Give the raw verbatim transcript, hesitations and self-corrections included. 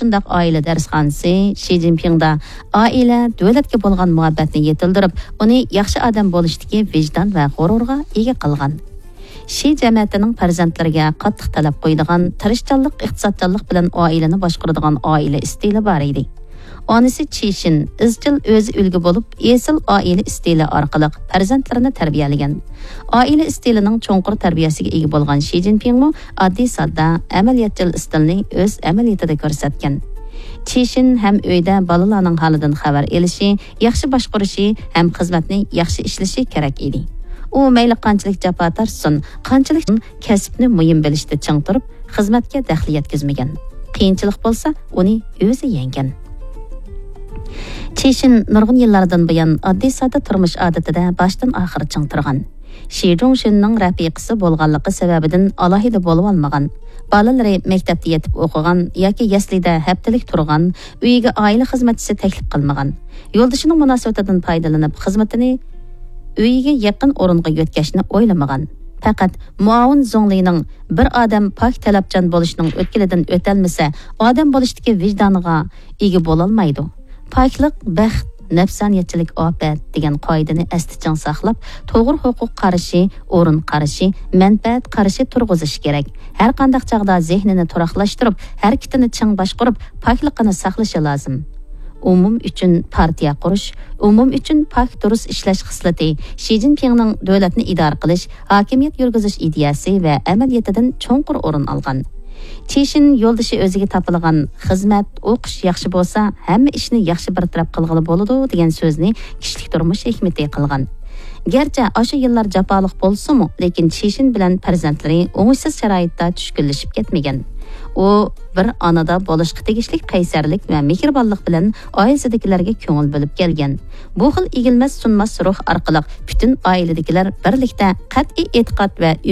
شۇنداق ئائىلە دەرسخانىسى شى جىنپىڭدا ئائىلە، دۆلەتكە بولغان مۇھەببەتنى يېتىلدۈرۈپ، ئۇنى ياخشى ئادەم بولۇشتىكى ۋىجدان ۋە غۇرۇرغا ئىگە قىلغان. شى جەمەتىنىڭ پەرزەنتلىرىگە قاتتىق تەلەپ قويىدىغان، تىرىشچانلىق، ئىقتىسادچانلىق بىلەن ئائىلىنى باشقۇرىدىغان ئائىلە ئىستىلى بار ئىدى. ئانىسى چىشىن ئىزچىل ئۆزى ئۈلگە بولۇپ، ئېسىل ئائىلە ئىستىلى ئارقىلىق پەرزەنتلىرىنى تەربىيەلىگەن. ئائىلە ئىستىلىنىڭ چوڭقۇر تەربىيەسىگە ئىگە بولغان شى جىنپىڭمۇ ئاددىي ساددا، ئەمەلىيەتچىل ئىستىلنى ئۆز ئەمەلىيىتىدە كۆرسەتكەن. چىشىن ھەم ئۆيدە بالىلارنىڭ ھالىدىن خەۋەر ئېلىشى، ياخشى باشقۇرۇشى ھەم خىزمەتنى ياخشى ئىشلىشى كېرەك ئىدى. ئۇ مەيلى قانچىلىك جاپا تارتسۇن، قانچىلىك كەسىپنى مۇھىم بىلىشتە چىڭ تۇرۇپ، خىزمەتكە دەخلى يەتكۈزمىگەن. قىيىنچىلىق بولسا، ئۇنى ئۆزى يەڭگەن. چىشىن نۇرغۇن يىللاردىن بۇيان ئاددىي ساددا تۇرمۇش ئادىتىدە باشتىن ئاخىر چىڭ تۇرغان. شى جۇڭشىننىڭ رەپىقىسى بولغانلىقى سەۋەبىدىن ئالاھىدە بولۇۋالمىغان. بالىلىرى مەكتەپتە يېتىپ ئوقۇغان ياكى يەسلىدە ھەپتىلىك تۇرغان، ئۆيىگە ئائىلە خىزمەتچىسى تەكلىپ قىلمىغان. يولدىشىنىڭ مۇناسىۋىتىدىن پايدىلىنىپ، خىزمىتىنى ئۆيىگە يېقىن ئورۇنغا يۆتكەشنى ئويلىمىغان. پەقەت مۇئاۋىن زۇڭلىنىڭ «بىر ئادەم پاك، تەلەپچان بولۇشنىڭ ئۆتكىلىدىن ئۆتەلمىسە، ئادەم بولۇشتىكى ۋىجدانىغا ئىگە بولالمايدۇ. پاكلىق بەخت، نەپسانىيەتچىلىك ئاپەت» دېگەن قائىدىنى ئەستە چىڭ ساقلاپ، توغرا ھوقۇق قارىشى، ئورۇن قارىشى، مەنپەئەت قارىشى تۇرغۇزۇش كېرەك. ھەر قانداق چاغدا زېھنىنى تۇراقلاشتۇرۇپ، ھەرىكىتىنى چىڭ باشقۇرۇپ، پاكلىقىنى ساقلىشى لازىم. ئومۇم ئۈچۈن پارتىيە قۇرۇش، ئومۇم ئۈچۈن پاك، دۇرۇس ئىشلەش خىسلىتى شى جىنپىڭنىڭ دۆلەتنى ئىدارە قىلىش، ھاكىمىيەت يۈرگۈزۈش ئىدىيەسى ۋە ئەمەلىيىتىدىن چوڭقۇر ئورۇن ئالغان. چىشىن يولدىشى ئۆزىگە تاپىلىغان خىزمەت، ئوقۇش ياخشى بولسا، ھەممە ئىشنى ياخشى بىر تەرەپ قىلغىلى بولىدۇ دېگەن سۆزنى كىشىلىك تۇرمۇش ھېكمىتى قىلغان. گەرچە ئاشۇ يىللار جاپالىق بولسىمۇ، لېكىن چىشىن بىلەن پەرزەنتلىرى ئوڭۇشسىز شارائىتتا چۈشكۈنلىشىپ كەتمىگەن. ئۇ بىر ئانىدا بولۇشقا تېگىشلىك قەيسەرلىك ۋە مېھرىبانلىق بىلەن ئائىلىسىدىكىلەرگە كۆڭۈل بۆلۈپ كەلگەن. بۇ خىل ئېگىلمەس سۇنماس روھ ئارقىلىق پۈتۈن ئائىلىدىكىلەر بىرلىكتە قەتئىي ئېتىقاد ۋە ئۈمىد